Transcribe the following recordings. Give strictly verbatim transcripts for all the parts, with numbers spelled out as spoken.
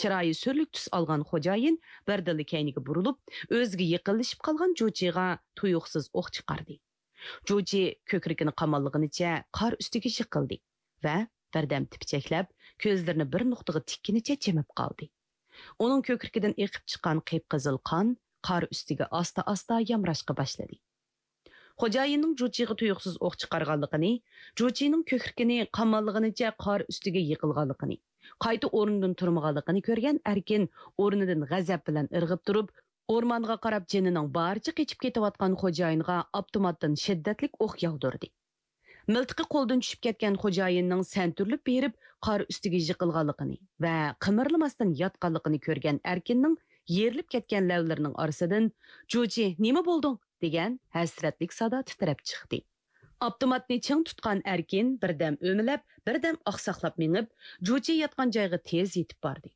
چىرايى سۈرلۈك تۈس ئالغان خوجايىن بىردىنلا كەينىگە بۇرۇلۇپ، ئۆزىگە يېقىنلىشىپ قالغان جۇچىغا تۇيۇقسىز ئوق چىقاردى. جۇچى كۆكرىكىنى قاماللىغىنىچە قار ئۈستىگە يىقىلدى ۋە بىردەم تىپچەكلەپ، كۆزلىرىنى بىر نۇقتىغا تىككىنىچە جىمىپ قالدى. ئۇنىڭ كۆكرىكىدىن ئېقىپ چىققان قىپقىزىل قان قار ئۈستىگە ئاستا-ئاستا يامراشقا باشلىدى. خوجايىننىڭ جۇچىغا تۇيۇقسىز ئوق چىقارغانلىقىنى، جۇچىنىڭ كۆكرىكىنى قاماللىغىنىچە قار ئۈستىگە يىقىلغانلىقىنى، قايتا ئورنىدىن تۇرمىغانلىقىنى كۆرگەن ئەركىن ئورنىدىن غەزەپ بىلەن ئىرغىپ تۇرۇپ، ئورمانغا قاراپ جېنىنىڭ بارىچە قېچىپ كېتىۋاتقان خوجايىنغا ئاپتوماتتىن شىددەتلىك ئوق ياغدۇردى. مىلتىقى قولدىن چۈشۈپ كەتكەن خوجايىننىڭ سەنتۈرۈلۈپ بېرىپ قار ئۈستىگە يىقىلغانلىقىنى ۋە قىمىرلىماستىن ياتقانلىقىنى كۆرگەن ئەركىننىڭ يېرىلىپ كەتكەن لەۋلىرىنىڭ ئارىسىدىن، «جۇچى، نېمە بولدۇڭ؟» دېگەن ھەسرەتلىك سادا تىترەپ چىقتى. ئاپتوماتنى چىڭ تۇتقان ئەركىن بىردەم ئۆمىلەپ، بىردەم ئاقساقلاپ مېڭىپ، جۇچى ياتقان جايغا تېز يېتىپ باردى.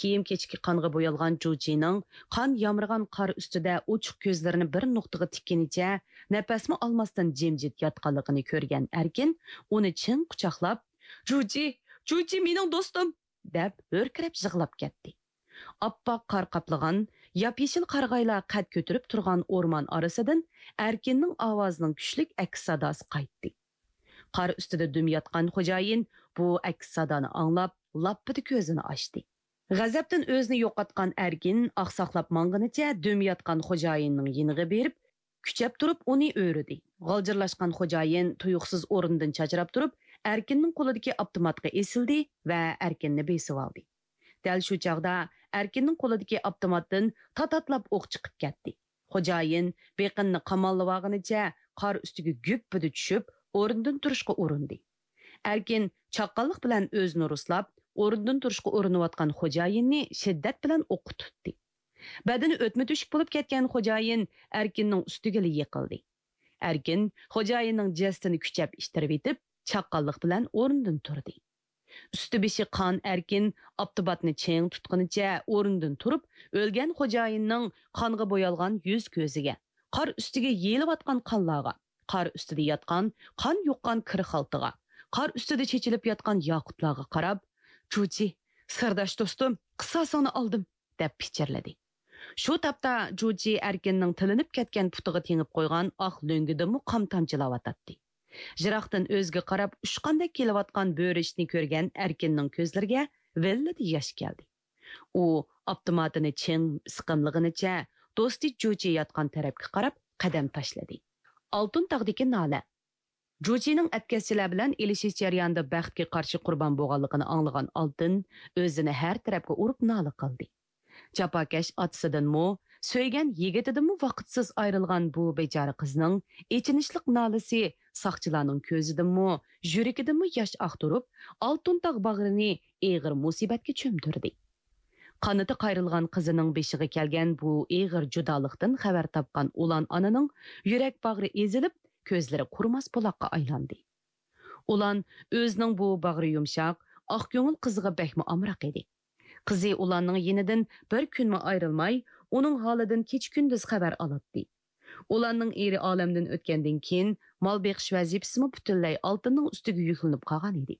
كىيىم-كېچىكى قانغا بويالغان جۇچىنىڭ قان يامرىغان قار ئۈستىدە ئوچۇق كۆزلىرىنى بىر نۇقتىغا تىككىنىچە نەپەسمۇ ئالماستىن جىمجىت ياتقانلىقىنى كۆرگەن ئەركىن ئۇنى چىڭ قۇچاقلاپ، «جۇچى، جۇچى مېنىڭ دوستۇم!» دەپ ھۆركىرەپ يىغلاپ كەتتى. ئاپئاق قار قاپلىغان، ياپيېشىل قارىغايلار قەد كۆتۈرۈپ تۇرغان ئورمان ئارىسىدىن ئەركىننىڭ ئاۋازىنىڭ كۈچلۈك ئەكس ساداسى قايتتى. قار ئۈستىدە دۈم ياتقان خوجايىن بۇ ئەكس سادانى ئاڭلاپ، لاپپىدە كۆزىنى ئاچتى. غەزەپتىن ئۆزىنى يوقاتقان ئەركىن ئاقساقلاپ ماڭغىنىچە دۈم ياتقان خوجايىننىڭ يېنىغا بېرىپ، كۈچەپ تۇرۇپ ئۇنى ئۆرۈدى. غالجىرلاشقان خوجايىن تۇيۇقسىز ئورنىدىن چاچراپ تۇرۇپ، ئەركىننىڭ قولىدىكى ئاپتوماتقا ئېسىلدى ۋە ئەركىننى بېسىۋالدى. دەل شۇ چاغدا ئەركىننىڭ قولىدىكى ئاپتوماتتىن تاتاتلاپ ئوق چىقىپ كەتتى. خوجايىن بېقىنىنى قاماللىۋالغىنىچە قار ئۈستىگە گۈپپىدە چۈشۈپ، ئورنىدىن تۇرۇشقا ئۇرۇندى. ئەركىن چاققانلىق بىلەن ئۆزىنى رۇسلاپ، ئورنىدىن تۇرۇشقا ئۇرۇنۇۋاتقان خوجايىننى شىددەت بىلەن ئوققا تۇتتى. بەدىنى ئۆتمە تۆشۈك بولۇپ كەتكەن خوجايىن ئەركىننىڭ ئۈستىگىلا يىقىلدى. ئەركىن خوجايىننىڭ جەسىتىنى كۈچەپ ئىتتىرىۋېتىپ، چاققانلىق بىلەن ئورنىدىن تۇردى. ئۈستى بېشى قان ئەركىن ئاپتوماتنى چىڭ تۇتقىنىچە ئورنىدىن تۇرۇپ، ئۆلگەن خوجايىننىڭ قانغا بويالغان يۈز كۆزىگە، قار ئۈستىگە يېيىلىۋاتقان قانلارغا، قار ئۈستىدە ياتقان قان يۇققان كىر خالتىغا، قار ئۈستىدە چېچىلىپ ياتقان ياقۇتلارغا قاراپ، «جۇچى، سىرداش دوستۇم، قىساسىڭنى ئالدىم!» دەپ پىچىرلىدى. شۇ تاپتا جۇچى ئەركىننىڭ تىلىنىپ كەتكەن پۇتىغا تېڭىپ قويغان ئاق لۆڭگىدىنمۇ قان تامچىلاۋاتاتتى. يىراقتىن ئۆزىگە قاراپ ئۇچقاندەك كېلىۋاتقان بۆرۈچنى كۆرگەن ئەركىننىڭ كۆزلىرىگە ۋىللىدە ياش كەلدى. ئۇ ئاپتوماتىنى چىڭ سىقىملىغىنىچە دوستى جۇچى ياتقان تەرەپكە قاراپ قەدەم تاشلىدى. ئالتۇن تاغدىكى نالە. جۇچىنىڭ ئەتكەسچىلەر بىلەن ئېلىشىش جەريانىدا بەختكە قارشى قۇربان بولغانلىقىنى ئاڭلىغان ئالتۇن ئۆزىنى ھەر تەرەپكە ئۇرۇپ نالە قىلدى. جاپاكەش ئاتىسىدىنمۇ، سۆيگەن يىگىتىدىنمۇ ۋاقىتسىز ئايرىلغان بۇ بىچارە قىزنىڭ ئېچىنىشلىق نالىسى ساقچىلارنىڭ كۆزىدىنمۇ، يۈرىكىدىنمۇ ياش ئاقتۇرۇپ، ئالتۇن تاغ باغرىنى ئېغىر مۇسىبەتكە چۆمدۈردى. قانىتى قايرىلغان قىزىنىڭ بېشىغا كەلگەن بۇ ئېغىر جۇدالىقتىن خەۋەر تاپقان ئۇلان ئانىنىڭ يۈرەك باغرى ئېزىلىپ، كۆزلىرى قۇرۇماس بۇلاققا ئايلاندى. ئۇلان ئۆزىنىڭ بۇ باغرى يۇمشاق، ئاق كۆڭۈل قىزىغا بەكمۇ ئامراق ئىدى. قىزى ئۇلاننىڭ يېنىدىن بىر كۈنمۇ ئايرىلماي، ئۇنىڭ ھالىدىن كېچە-كۈندۈز خەۋەر ئالاتتى. ئۇلاننىڭ ئېرى ئالەمدىن ئۆتكەندىن كېيىن، مال بېقىش ۋەزىپىسىمۇ پۈتۈنلەي ئالتۇننىڭ ئۈستىگە يۈكلىنىپ قالغان ئىدى.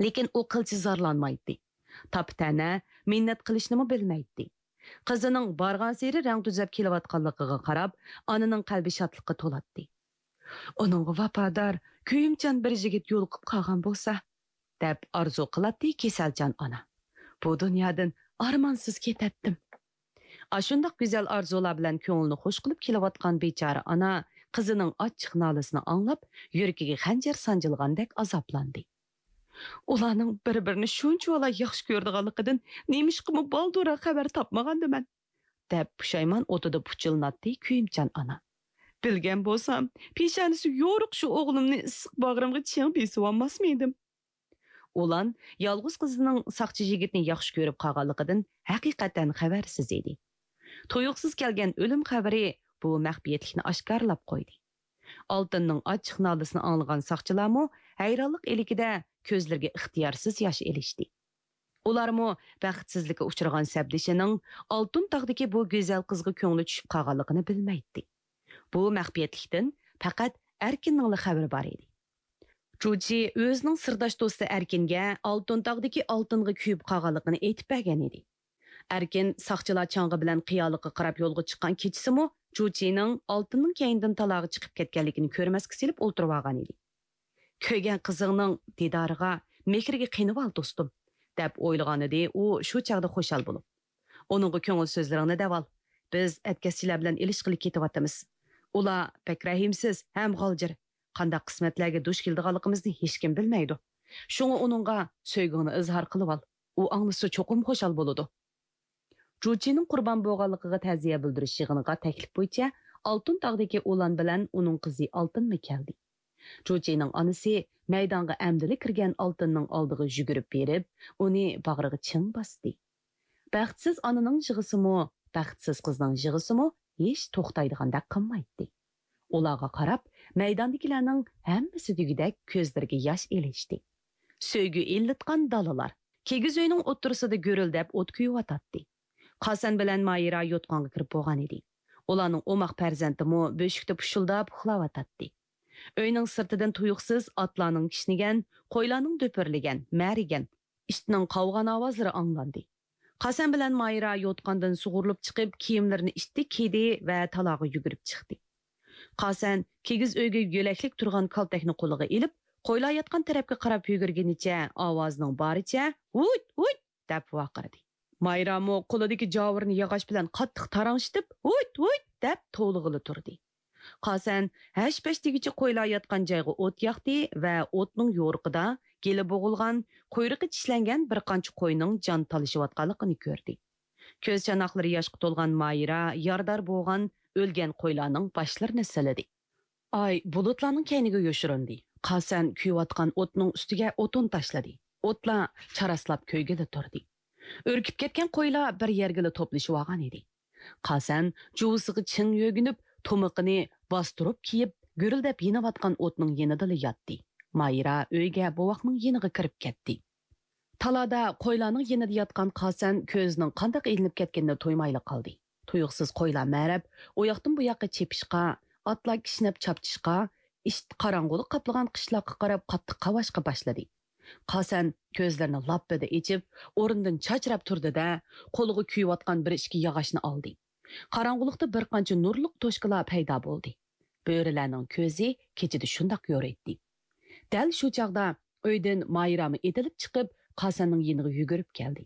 لېكىن ئۇ قىلچە زارلانمايتتى. تاپا-تەنە، مىننەت قىلىشنىمۇ بىلمەيتتى. قىزىنىڭ بارغانسېرى رەڭ تۈزەپ كېلىۋاتقانلىقىغا قاراپ، ئانىنىڭ قەلبى شادلىققا تولاتتى. «ئۇنىڭغا ۋاپادار، كۆيۈمچان بىر يىگىت يولۇقۇپ قالغان بولسا!» دەپ ئارزۇ قىلاتتى كېسەلچان ئانا. «بۇ دۇنيادىن ئارمانسىز كېتەتتىم.» ئاشۇنداق گۈزەل ئارزۇلار بىلەن كۆڭلىنى خۇش قىلىپ كېلىۋاتقان بىچارە ئانا قىزىنىڭ ئاچچىق نالىسىنى ئاڭلاپ، يۈرىكىگە خەنجەر سانجىلغاندەك ئازابلاندى. «ئۇلارنىڭ بىر-بىرىنى شۇنچىۋالا ياخشى كۆرىدىغانلىقىدىن نېمىشقىمۇ بالدۇرراق خەۋەر تاپمىغاندىمەن؟» دەپ پۇشايمان ئوتىدا پۇچىلىناتتى كۆيۈمچان ئانا. «بىلگەن بولسام، پېشانىسى يورۇق شۇ ئوغلۇمنى ئىسسىق باغرىمغا چىڭ بېسىۋالماسمىدىم؟» ئۇلان يالغۇز قىزىنىڭ ساقچى يىگىتنى ياخشى كۆرۈپ قالغانلىقىدىن ھەقىقەتەن خەۋەرسىز ئىدى. تۇيۇقسىز كەلگەن ئۆلۈم خەۋىرى بۇ مەخپىيەتلىكنى ئاشكارىلاپ قويدى. ئالتۇننىڭ ئاچچىق نالىسىنى ئاڭلىغان ساقچىلارمۇ ھەيرانلىق ئىلكىدە كۆزلىرىگە ئىختىيارسىز ياش ئېلىشتى. ئۇلارمۇ بەختسىزلىككە ئۇچرىغان سەپدىشىنىڭ ئالتۇن تاغدىكى بۇ گۈزەل قىزغا كۆڭلى چۈشۈپ قالغانلىقىنى بىلمەيتتى. بۇ مەخپىيەتلىكتىن پەقەت ئەركىننىڭلا خەۋىرى بار ئىدى. جۇچى ئۆزىنىڭ سىرداش دوستى ئەركىنگە ئالتۇن تاغدىكى ئالتۇنغا كۆيۈپ قالغانلىقىنى ئېيتىپ بەرگەن ئىدى. ئەركىن ساقچىلار چاڭغا بىلەن قىيالىققا قاراپ يولغا چىققان كېچىسىمۇ جۇچىنىڭ ئالتۇننىڭ كەينىدىن تالاغا چىقىپ كەتكەنلىكىنى كۆرمەسكە سېلىپ ئولتۇرۇۋالغان ئىدى. «كۆرگەن قىزىڭنىڭ دىدارىغا، مېھرىگە قېنىۋال، دوستۇم» دەپ ئويلىغانىدى ئۇ شۇ چاغدا خۇشال بولۇپ. «ئۇنىڭغا كۆڭۈل سۆزلىرىڭنى دەۋال. بىز ئەتكەسچىلەر بىلەن ئېلىشقىلى كېتىۋاتىمىز. ئۇلار بەك رەھىمسىز ھەم غالجىر. قانداق قىسمەتلەرگە دۇچ كېلىدىغانلىقىمىزنى ھېچكىم بىلمەيدۇ. شۇڭا ئۇنىڭغا سۆيگۈڭنى ئىزھار قىلىۋال. ئۇ ئاڭلىسا چوقۇم خۇشال بولىدۇ.» جۇچىنىڭ قۇربان بولغانلىقىغا تەزىيە بىلدۈرۈش يىغىنىغا تەكلىپ بويىچە ئالتۇن تاغدىكى ئۇلان بىلەن ئۇنىڭ قىزى ئالتۇنمۇ كەلدى. جۇچىنىڭ ئانىسى مەيدانغا ئەمدىلا كىرگەن ئالتۇننىڭ ئالدىغا يۈگۈرۈپ بېرىپ، ئۇنى باغرىغا چىڭ باستى. بەختسىز ئانىنىڭ يىغىسىمۇ، بەختسىز قىزنىڭ يىغىسىمۇ ھېچ توختايدىغاندەك قىلمايتتى. ئۇلارغا قاراپ، مەيداندىكىلەرنىڭ ھەممىسى دېگۈدەك كۆزلىرىگە ياش ئېلىشتى. سۆيگۈ ئىللىتقان دالىلار. كىگىز ئۆينىڭ ئوتتۇرىسىدا گۈرۈلدەپ ئوت كۆيۈۋاتاتتى. قاسەن بىلەن مايرا يوتقانغا كىرىپ بولغان ئىدى. ئۇلارنىڭ ئوماق پەرزەنتىمۇ بۆشۈكتە پۇشۇلداپ ئۇخلاۋاتاتتى. ئۆينىڭ سىرتىدىن تۇيۇقسىز ئاتلارنىڭ كىشنىگەن، قويلارنىڭ دۈپۈرلىگەن، مەرىگەن، ئىتنىڭ قاۋىغان ئاۋازلىرى ئاڭلاندى. قاسەن بىلەن مايرا يوتقاندىن سۇغۇرۇلۇپ چىقىپ، كىيىملىرىنى ئىتتىك كىيدى ۋە تالاغا يۈگۈرۈپ چىقتى. قاسەن كىگىز ئۆيگە يۆلەكلىك تۇرغان كالتەكنى قولىغا ئېلىپ، قويلار ياتقان تەرەپكە قاراپ يۈگۈرگىنىچە ئاۋازىنىڭ بارىچە «ھۇيت، ھۇيت!» دەپ ۋارقىرىدى. مايرامۇ قولىدىكى جاۋۇرىنى ياغاچ بىلەن قاتتىق تاراڭشىتىپ، «ھۇيت، ھۇيت!» دەپ توۋلىغىلى تۇردى. قاسەن ھەش-پەش دېگۈچە قويلار ياتقان جايغا ئوت ياقتى ۋە ئوتنىڭ يورۇقىدا گېلى بوغۇلغان، قۇيرۇقى چىشلەنگەن بىر قانچە قوينىڭ جان تالىشىۋاتقانلىقىنى كۆردى. كۆز چاناقلىرى ياشقا تولغان مايرا يارىدار بولغان ئۆلگەن قويلارنىڭ باشلىرىنى سىلىدى. ئاي بۇلۇتلارنىڭ كەينىگە يوشۇرۇندى. قاسەن كۆيۈۋاتقان ئوتنىڭ ئۈستىگە ئوتۇن تاشلىدى. ئوتلار چاراسلاپ كۆيگىلى تۇردى. ئۈركۈپ كەتكەن قويلار بىر يەرگىلا توپلىشىۋالغان ئىدى. قاسەن جۇۋىسىغا چىڭ يۆگىنىپ، تۇمىقىنى باستۇرۇپ كىيىپ، گۈرۈلدەپ يېنىۋاتقان ئوتنىڭ يېنىدىلا ياتتى. مايرا ئۆيگە بوۋاقنىڭ يېنىغا كىرىپ كەتتى. تالادا قويلارنىڭ يېنىدا ياتقان قاسەن كۆزىنىڭ قانداق ئىلىنىپ كەتكىنىنى تۇيمايلا قالدى. تۇيۇقسىز قويلار مەرەپ، ئۇ ياقتىن بۇ ياققا چېپىشقا، ئاتلار كىشنەپ چاپچىشقا، ئىت قاراڭغۇلۇق قاپلىغان قىشلاققا قاراپ قاتتىق قاۋاشقا باشلىدى. قاسەن كۆزلىرىنى لاپپىدە ئېچىپ، ئورنىدىن چاچراپ تۇردى-دە، قولىغا كۆيۈۋاتقان بىر ئىككى ياغاچنى ئالدى. قاراڭغۇلۇقتا بىر قانچە نۇرلۇق توشكىلار پەيدا بولدى. بۆرىلەرنىڭ كۆزى كېچىدە شۇنداق يورۇيتتى. دەل شۇ چاغدا ئۆيدىن مايرامۇ ئېتىلىپ چىقىپ، قاسەننىڭ يېنىغا يۈگۈرۈپ كەلدى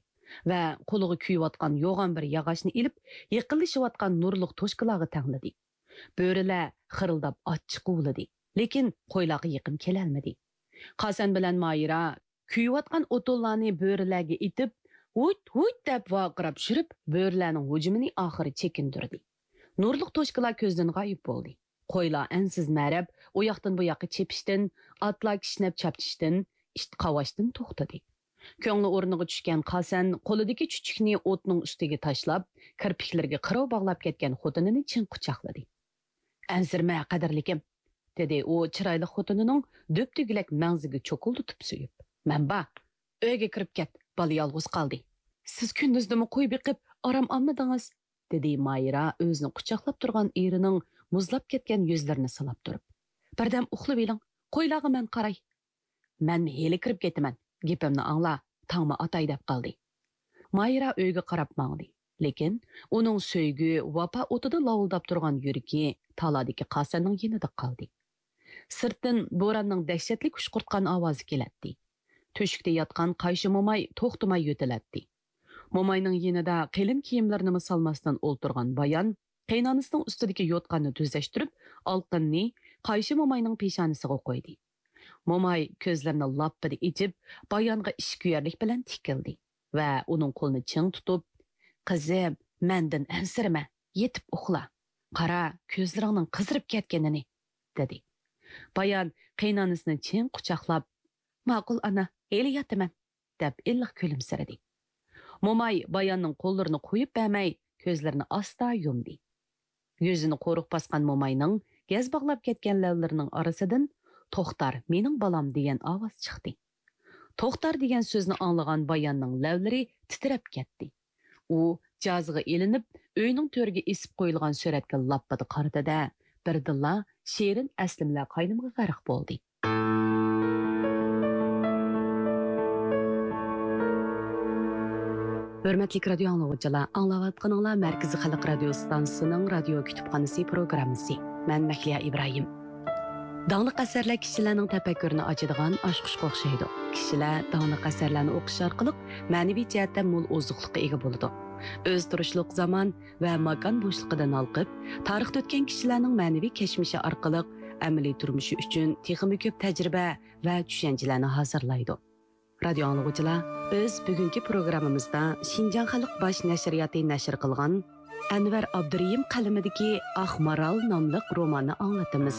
ۋە قولىغا كۆيۈۋاتقان يوغان بىر ياغاچنى ئېلىپ، يېقىنلىشىۋاتقان نۇرلۇق توشكىلارغا تەڭلىدى. بۆرىلەر خىرىلداپ ئاچچىق ئۇۋۇلىدى، لېكىن قويلارغا يېقىن كېلەلمىدى. قاسەن بىلەن مايرا كۆيۈۋاتقان ئوتۇنلارنى بۆرىلەرگە ئېتىپ، «ھۇيت، ھۇيت!» دەپ ۋارقىراپ يۈرۈپ، بۆرىلەرنىڭ ھۇجۇمىنى ئاخىرى چېكىندۈردى. نۇرلۇق توشكىلار كۆزدىن غايىب بولدى. قويلار ئەنسىز مەرەپ، ئۇ ياقتىن بۇ ياققا چېپىشتىن، ئاتلار كىشنەپ چاپچىشتىن، ئىت قاۋاشتىن توختىدى. كۆڭلى ئورنىغا چۈشكەن قاسەن قولىدىكى چۈچۈكنى ئوتنىڭ ئۈستىگە تاشلاپ، كىرپىكلىرىگە قىرىۋ باغلاپ كەتكەن خوتۇنىنى چىڭ قۇچاقلىدى. «ئەنسىرىمە، قەدىرلىكىم!» دېدى ئۇ چىرايلىق خوتۇنىنىڭ دۈپدۈگىلەك مەڭزىگە چوكۇلدىتىپ سۆيۈپ. «مەن بار، ئۆيگە كىرىپ كەت، بالا يالغۇز قالدى. سىز كۈندۈزدىمۇ قوي بېقىپ، ئارام ئالمىدىڭىز؟» دېدى مايرا ئۆزىنى قۇچاقلاپ تۇرغان ئېرىنىڭ مۇزلاپ كەتكەن يۈزلىرىنى سىلاپ تۇرۇپ. «بىردەم ئۇخلىۋېلىڭ، قويلارغا مەن قاراي.» «مەنمۇ ھېلى كىرىپ كېتىمەن، گېپىمنى ئاڭلا، تاڭمۇ ئاتاي» دەپ قالدى. مايرا ئۆيگە قاراپ ماڭدى. لېكىن ئۇنىڭ سۆيگۈ، ۋاپا ئوتىدا لاۋۇلداپ تۇرغان يۈرىكى تالادىكى قاسەننىڭ يېنىدا قالدى. سىرتتىن بوراننىڭ دەھشەتلىك ئۇشقۇرتقان ئاۋازى كېلەتتى. تۆشۈكتە ياتقان قايشى موماي توختىماي يۆتىلەتتى. موماينىڭ يېنىدا قېلىن كىيىملىرىنىمۇ سالماستىن ئولتۇرغان بايان قېيىنئانىسىنىڭ ئۈستىدىكى يوتقاننى تۈزەشتۈرۈپ، ئالقىننى قايشى موماينىڭ پېشانىسىغا قويدى. موماي كۆزلىرىنى لاپپىدە ئېچىپ، بايانغا ئىچكۈيەرلىك بىلەن تىكىلدى ۋە ئۇنىڭ قولىنى چىڭ تۇتۇپ، «قىزىم، مەندىن ئەنسىرىمە، يېتىپ ئۇخلا. قارا، كۆزلىرىڭنىڭ قىزىرىپ كەتكىنىنى» دېدى. بايان قېيىنئانىسىنى چىڭ قۇچاقلاپ، «ماقۇل ئانا، ھېلى ياتىمەن» دەپ ئىللىق كۈلۈمسىرىدى. موماي باياننىڭ قوللىرىنى قويۇپ بەرمەي، كۆزلىرىنى ئاستا يۇمدى. يۈزىنى قورۇق باسقان موماينىڭ گەز باغلاپ كەتكەن لەۋلىرىنىڭ ئارىسىدىن «توختار، مېنىڭ بالام» دېگەن ئاۋاز چىقتى. «توختار» دېگەن سۆزنى ئاڭلىغان باياننىڭ لەۋلىرى تىترەپ كەتتى. ئۇ جازىغا ئېلىنىپ، ئۆينىڭ تۆرىگە ئېسىپ قويۇلغان سۈرەتكە لاپپىدە قارىدى-دە، بىردىنلا شېرىن ئەسلىمىلەر قاينىمىغا غەرق بولدى. ھۆرمەتلىك رادىيو ئاڭلىغۇچىلار، ئاڭلاۋاتقىنىڭلار مەركىزىي خەلق رادىيو ئىستانسىسىنىڭ رادىيو كۈتۈپخانىسى پروگراممىسى. مەن مەھلىيا ئىبراھىم. داڭلىق ئەسەرلەر كىشىلەرنىڭ تەپەككۇرىنى ئاچىدىغان ئاچقۇچقا ئوخشايدۇ. كىشىلەر داڭلىق ئەسەرلەرنى ئوقۇش ئارقىلىق مەنىۋى جەھەتتە مول ئوزۇقلۇققا ئىگە بولىدۇ. ئۆز تۇرۇشلۇق زامان ۋە ماكان بوشلۇقىدىن ھالقىپ، تارىختا ئۆتكەن كىشىلەرنىڭ مەنىۋى كەچمىشى ئارقىلىق ئەمەلىي تۇرمۇشى ئۈچۈن تېخىمۇ كۆپ تەجرىبە ۋە چۈشەنچىلەرنى ھازىرلايدۇ. رادىيو ئاڭلىغۇچىلار، بىز بۈگۈنكى پروگراممىمىزدا شىنجاڭ خەلق باش نەشرىياتى نەشر قىلغان ئەنۋەر ئابدۇرېھىم قەلىمىدىكى ئاق مارال ناملىق روماننى ئاڭلىتىمىز.